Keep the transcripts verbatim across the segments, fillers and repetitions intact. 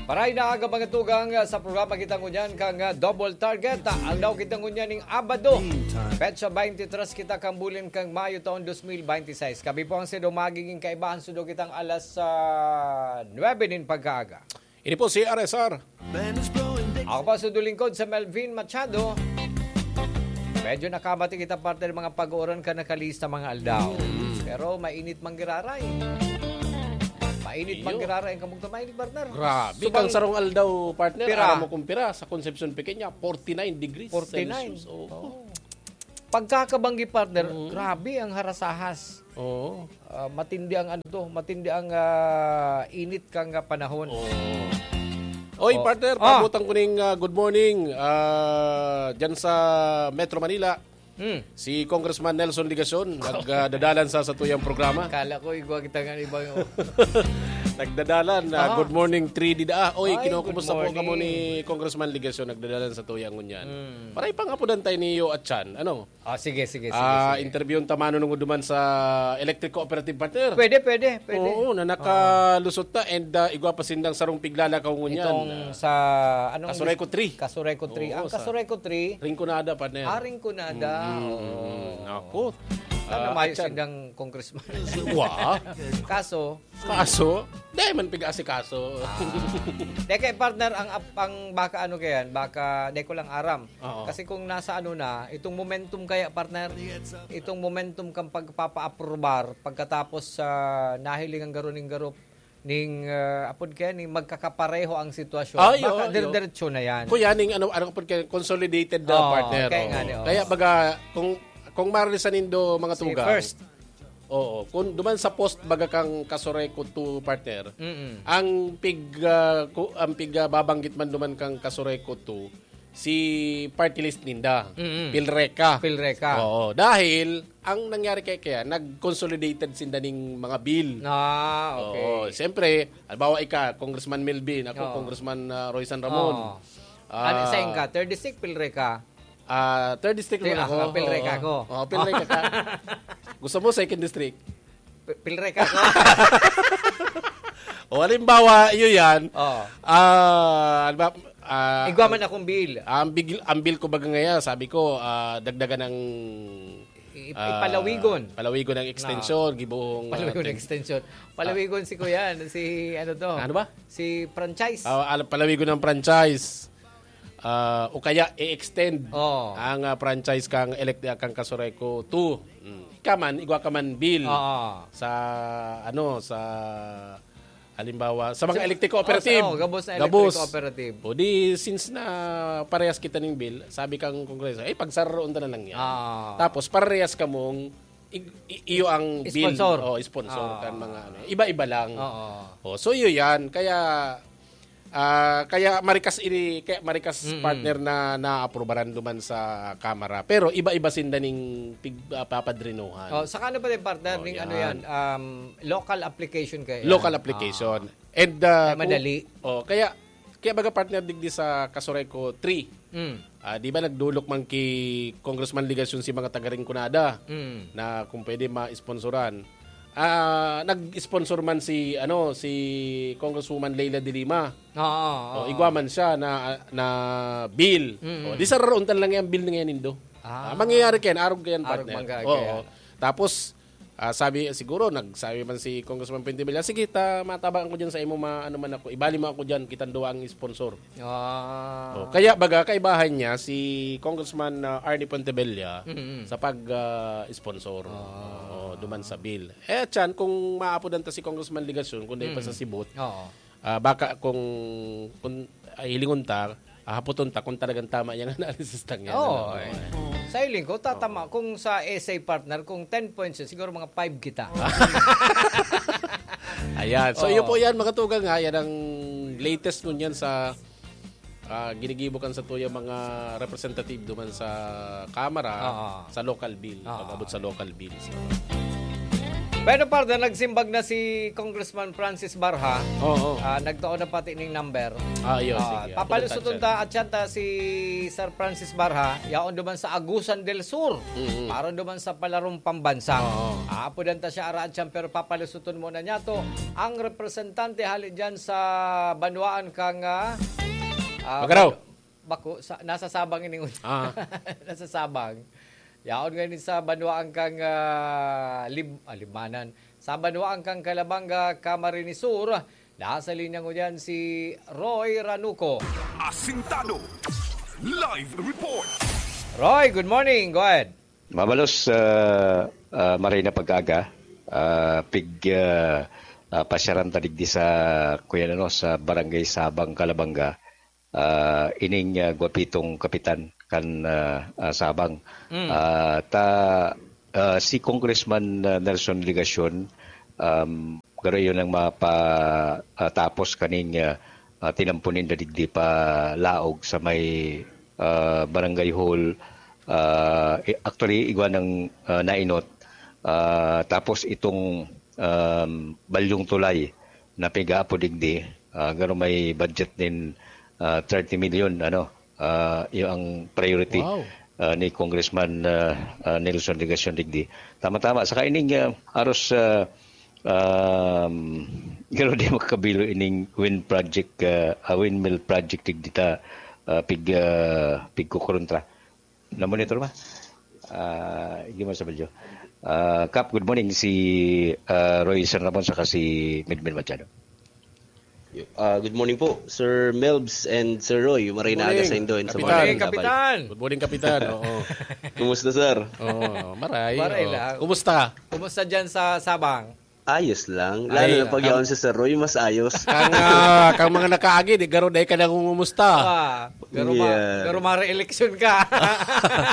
Maray na aga, mga tugang, sa programa kita ngunyan kan, ah, Double Target. Ah, aldaw kita ngunyan ning Abado. Petsa twenty-three kita kan bulan kan Mayo taon twenty twenty-six. Kami po ang sido magiging kaibahan, sudo kitang alas, ah, nuebe nin pagkaaga. Ini po si R S R. Ako pa sudo lingkod sa Melvin Machado. Medyo nakabati kita, partner, mga pag-uuran ka nakalista mga aldaw. Mm. Pero mainit man giraray. Mainit man Iyo. giraray ang kamugto. Mainit, partner. Grabe. Subang Kang sarong aldaw, partner, Pira? aram mo kung pira, sa Concepcion Pequeña, forty-nine degrees forty-nine. Celsius. Oo. Oh. Pagkakabanggi, partner, Mm. grabe ang harasahas. Oo. Ah, matindi ang ano to, matindi ang, ah, init kang, ah, panahon. Oo. Oy, Oh. partner, Ah. paabutan ko ning, ah, good morning, ah, dyan sa Metro Manila. Hmm. Si Congressman Nelson Legacion, nag, ah, dadalan sa satuyang programa. Kala ko, igwa kita nga iba yung Nagdadalan, ah, Aha. good morning, three D da. Ah, oy, Ay, kinukumusta good po kamo morning. ni Congressman Legacion, nagdadalan sa tuyang ngunyan. Hmm. Paray pangapudan tayo ni Yo Atchan, ano? Ah, sige, sige, sige, Ah, sige. interviewon ta manunungod duman sa electric cooperative, partner. Pwede, pwede, pwede. Oo, na Ah. nakalusot na and, ah, igwa pa sindang sarong piglalakaw ngunyan. Itong Ah, sa, anong Kasureco three. Kasureco three. Oo, Ang sa Kasureco three, Rinconada, partner. Ah, Rinconada. Mm, mm, Oo. mm. Naku. Sana Ah, mayo Atchan. sindang congressman. Wa. Kaso, Kaso, di man pig-asikaso. Ah. Teka, partner, ang ap-, ang baka ano kayan, baka di ko lang aram. Oo. Kasi kung nasa ano na, itong momentum kaya, partner, itong momentum kang pagpapa-aprobar pagkatapos sa nahiling ang garo ning garo ning, ah, apod kaya, ning magkakapareho ang sitwasyon, Ay, baka oo, dire-diretso na yan. Kuya, ning ano, ano, apod kaya, consolidated na Oo, partner, kaya oo. nga, di, oo. Kaya baga, kung, kung maririsan nindo, mga Si tugang, first. Oo, kung duman sa post baga kang Kasureco two, partner, Mm-mm. ang pig, ah, ku-, ang pig, ah, babanggit man duman kang Kasureco two, si party list ninda, Mm-mm. Pilreca. Pilreca. Oo, dahil ang nangyari kay, kaya, nag-consolidated sinda ning mga bill. Ah, okay. Oo, siyempre, halimbawa ika, Congressman Melvin, ako, Oo. Congressman, ah, Roy San Ramon. Oo. Ah, Ano, saan ka? Third District, Pilreca? Ah, third district Ti-, naman ako. ah, Pilreca Oo. ako. Oo, Pilreca ka. Gusto mo second district? Pi-, Pilreca ako. O, halimbawa, iyo yan. Oo. Ah, halimbawa, ah, Igwa man ang, akong bill. ang big-, ang bill ko baga ngayon, sabi ko, ah, dagdagan ng, I-, ah, ipalawigon. palawigon ng extension, Oo. gibohong, ah, Palawigon ng ten- extension. Palawigon si Kuya, si ano to? Ano ba? Si franchise. Ah, ala-, palawigon ng franchise. Ah, o kaya i-extend Oo. ang, ah, franchise kang elect-, kang Kasureco two. Mm. Ika man, igwa ka man bill Oo. sa, ano, sa, halimbawa, sa mga Sa, electric oh, sa, cooperative. oh, gabos na electric Gabos. cooperative. O di, since na parehas kita ning bill, sabi kang Kongreso, "Eh, pagsararoon ta na lang yan." Ah. Tapos, parehas kamong i-, i-, iyo ang bill. Sponsor. Oh, sponsor Ah. kan mga ano. Iba-iba lang. Oo. Oh, so, iyo yan. Kaya, ah, kaya marikas ini, kaya marikas Mm-mm. partner na naaprobaran duman sa Kamara. Pero iba-iba sinda ning pig-, ah, papadrinuhan. Oh, saka ano pa din, partner, Oh, ning ano yan. yan, um, local application kayo Local yan. application. Ah. And, ah, Kaya kung madali. Oh, kaya, kaya baga, partner, digdi sa Kasureco three. Mm. Ah, di ba nagdulok man ki Congressman Legacion si mga taga Rinconada Mm. na kung pwede ma-sponsoran? Ah, nag-sponsor man si, ano, si Congresswoman Leila de Lima. Oo, O, oo. igwa man siya na, na bill. Mm. O, di sararoon ta lang yung bill na yan, Indo. Ah. Ah, mangyayari kayan, arog kayan, Arog partner. man ka, Oo. kaya. Tapos, ah, sabi, siguro, nagsabi man si Congressman Pentebella, "Sige, ta, matabangan ko dyan sa imo, ma-, ano man ako, ibali mo ako dyan, kitang duwa ang sponsor." Ah. Oh, kaya baga, kaibahan niya si Congressman, ah, Arnie Pontebella Mm-mm. sa pag, ah, sponsor. Ah. Oo, duman sa bill. Eh, tiyan, kung maapodan ta si Congressman Legacion, kung dahil pa Mm. sa sibot, Oo. ah, baka kung, kung, ah, hilingon ta, ah, hapoton ta kung talagang tama yung analysis lang yan. Oo, Ano, eh. ano, eh. Sa hiling ko, tatama. Oo. Kung sa essay, partner, kung ten points yun, siguro mga five kita. Ayan. So, Oo. yun po yan, mga tugang, ha. Yan ang latest ngunyan sa, ah, ginigibo kan sa tuya mga representative duman sa Kamara, Oo. sa local bill, Oo. pag-abot sa local bill. So, Pero, partner, nagsimbag na si Congressman Francis Barha. Oo. Ah, nagtao na pati ning number. Ah, iyo, Ah, sige. Papalusuton Importante. Ta at siyanta si Sir Francis Barha, yaon duman sa Agusan del Sur. Mm-mm. Para duman sa palarong pambansa. Oo. Aapodan ta siya ara at siyan, pero papalusuton muna niya to. Ang representante hali dyan sa banwaan kang, ah, ah, Magarao. Bako, sa, nasa Sabang ini. Ah. Nasa Sabang. Yaon ngayon sa banwaan kang, ah, Lib-, ah, Libmanan. Sa banwaan kang Calabanga, Camarines Sur, nasa linya ngunyan si Roy Ranuco. Asintado. Live report. Roy, good morning. Go ahead. Mabalos, ah, ah, maray na pag-aga. Ah, pig, ah, ah, pasyaran ta digdi sa, kuya, ano, sa Barangay Sabang, Calabanga. Ah, ining, ah, gwapitong kapitan kan, ah, ah, Sabang. Mm. Ah, ta, ah, si Congressman, ah, Nelson Legacion, um, garo yun ang mapa, ah, tapos kaning, ah, ah, tinampo ninda digdi pa laog sa may, ah, barangay hall. Ah, i-, actually, igwa ng, ah, nainot. Ah, tapos itong, um, balyong tulay na pigaapod digdi, ah, garo may budget din, ah, thirty million, ano, ah, yung ang priority, Wow. ah, ni Congressman, ah, ah, Nelson Legacion digdi. Tama-tama. Saka ining, ah, aros, ah, um, garo di makabilo ining wind project, ah, ah, windmill project digdi ta, ah, pig, ah, pigkukontra. Na-monitor ba? Ah, hindi mo sa balyo. Ah, Kap, good morning. Si, ah, Roy San Ramon saka si Midmin Machado. Yo, ah, good morning po, Sir Melbs and Sir Roy. Maray na aga Morning, sa indo and sa Kapitan. mga Morning, Kapitan. Good morning, Kapitan. Oo. Kumusta, sir? Oo, maray. Maray Oo. lang. Kumusta? Kumusta dyan sa Sabang? Ayos lang. Lalo Ay, na pag ang yaon si Sir Roy, mas ayos. Kang, ah, kang mga nakaagi, di garo dai ka nangungumusta. Ah, garo ma-, Yeah. garo mare-eleksyon ka.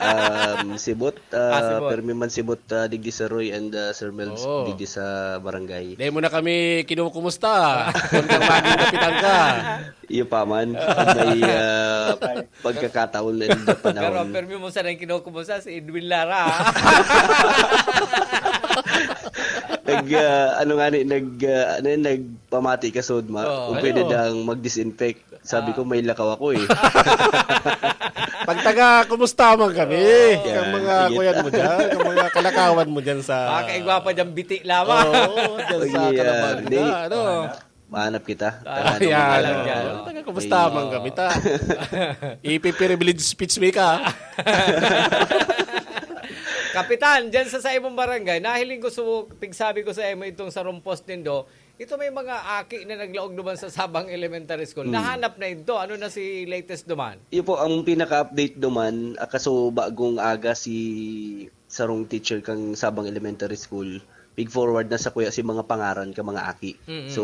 Um, sibot, Ah, ah, sibot. Permi man sibot, ah, digdi Sir Roy and, ah, Sir Melbs Oo. digdi sa barangay. Dai mo na kami kinukumusta. Kung kang maging kapitan ka. Iyo pa man, pag may, ah, pagkakataon and Pero panahon. Permi mo sanang kinukumusta si Edwin Lara. Nag, ah, ano nga ni, nag, ah, ano yun, nagpamati ka, Sodma. Oo. Kung pwede Ano? dang mag-disinfect. Sabi Ah. ko, "May lakaw ako, eh." Pag taga, kumusta man kami? Oo. Kang Yan, mga sige. kuyan mo dyan, kang mga kalakawan mo dyan sa Baka igwa pa dyan, biti lamang. Oo, dyan sa Sige, Calabanga, ah, di- ano? Mahanap kita. Ah, Taga yan, Calabanga, ano? ano? Taga, kumusta Ay. man kami, ta? Ipi-privilege speech mo ka. Kapitan, dyan sa, sa imong barangay, nahiling ko su-, pigsabi ko sa imo itong sa rompos nindo, ito may mga aki na naglaog duman sa Sabang Elementary School. Hmm. Nahanap na ito. Ano na si latest duman? Iyo po, ang pinaka-update duman, ah, kaso bagong aga si sarong teacher kang Sabang Elementary School, pig-forward na sa kuya si mga pangaran ka mga aki. Mm-mm. So,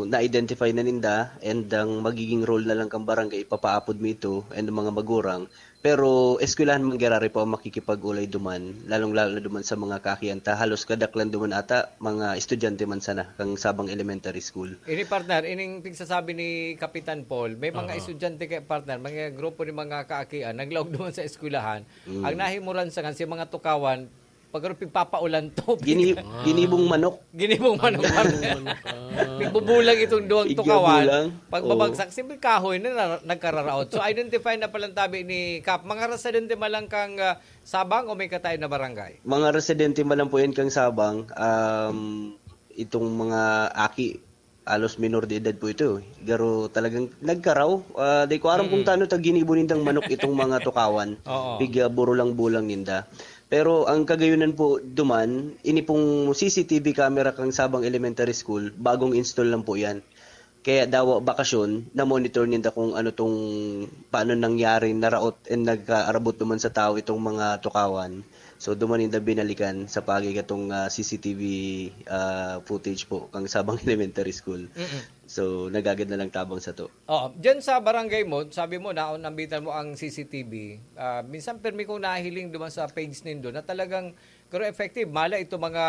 na-identify na ninda, and ang magiging role na lang kang barangay, ipapaapod mo ito, and ang mga magurang, Pero eskwelahan man giraray po ang makikipag-olay duman, lalong-lalo na duman sa mga kaakian ta. Halos kadaklan duman ata, mga estudyante man sana, kan Sabang Elementary School. Ini, partner, ining pigsasabi ni Kapitan Paul, may mga Oo. estudyante kay, partner, mga grupo ni mga kaakian, naglaog duman sa eskwelahan. Mm. Ang nahimuran sa kan, si mga tukawan, pag pigpapaulan to, Gini-, Ah. ginibong manok. Ginibong manok, Ano, partner. ano, ah. Pigbubulang itong duwang Igya tukawan. bulang. Pagbabagsak, Oo. simple kahoy na, na nagkararaot. So, identify na palang tabi ni Kap. Mga residente man lang kang, ah, Sabang o may katayon na barangay? Mga residente man lang po yan kang Sabang. Um, itong mga aki, alos minor de edad po ito, eh. Pero talagang nagkaraw. Ah, di ko aram kung Mm. tano ta ginibo nindang manok itong mga tukawan. Oo. Pig, ah, burulang-bulang ninda. Pero ang kagayunan po duman, ini pong C C T V camera kang Sabang Elementary School, bagong install lang po yan. Kaya dawa bakasyon, na-monitor ninda kung ano tong, paano nangyari, naraot, and nagkaarabot naman sa tao itong mga tukawan. So, duman ninda binalikan sa pagi katong, ah, C C T V, ah, footage po kang Sabang Elementary School. Mm-mm. So, nagagad na lang tabang sa to. Oo. Diyan sa barangay mo, sabi mo, naon-, nambitan mo ang C C T V. Ah, minsan permi kong nahiling duman sa page nindo na talagang, pero effective. Mala ito mga,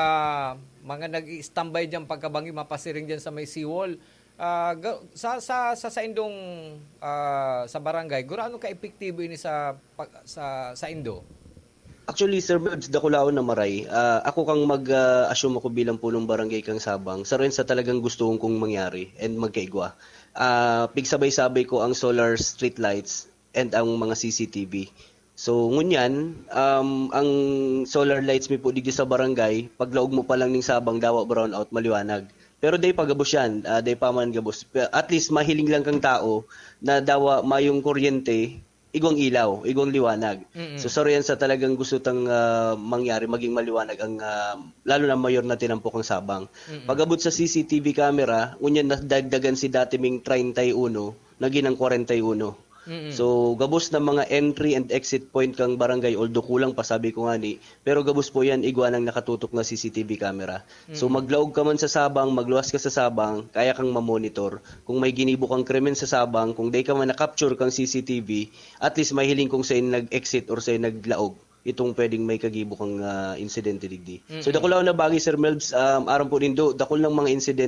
mga nag-i-standby diyan pagkabangi, mapasiring diyan sa may seawall. Ah, ga-, sa, sa, sa, sa indong, ah, sa barangay, gurano ka epektibo ini sa pag-, sa, sa indo? Actually, Sir Melbs, dakulaon na maray. Ah, ako kang mag-assume ako bilang punong barangay kang Sabang. Saro yan sa talagang gusto kong mangyari and magkaigwa. Ah, pigsabay-sabay ko ang solar street lights and ang mga C C T V. So, ngunyan, um, ang solar lights mi po digdi sa barangay, paglaog mo pa lang ning Sabang, dawa brownout, maliwanag. Pero day pa gabos yan, ah, day pa man gabos. Pe- At least, mahiling lang kang tao na dawa mayong kuryente, igwang ilaw, igwang liwanag. Mm-mm. So, saro yan sa talagang gusto tang ah, mangyari, maging maliwanag ang, ah, lalo na mayor na tinampok ang Sabang. Pag-abot sa C C T V camera, ngunyan nadagdagan si dati ming treinta y uno, naging ang kwarenta y uno. Mm-mm. So, gabos na mga entry and exit point kang barangay, although kulang pa, sabi ko nga ni, pero gabos po yan, igwa ng nakatutok na C C T V camera. So, maglaog ka man sa Sabang, magluwas ka sa Sabang, kaya kang mamonitor. Kung may ginibo kang krimen sa Sabang, kung day ka man na-capture kang C C T V, at least mahiling kung saan nag-exit or saan naglaog itong pwedeng may kagibo kang ah, insidente digdi. So, dakulaon na bagay, Sir Melbs, um, aram po nindo, dakul ng mga insidente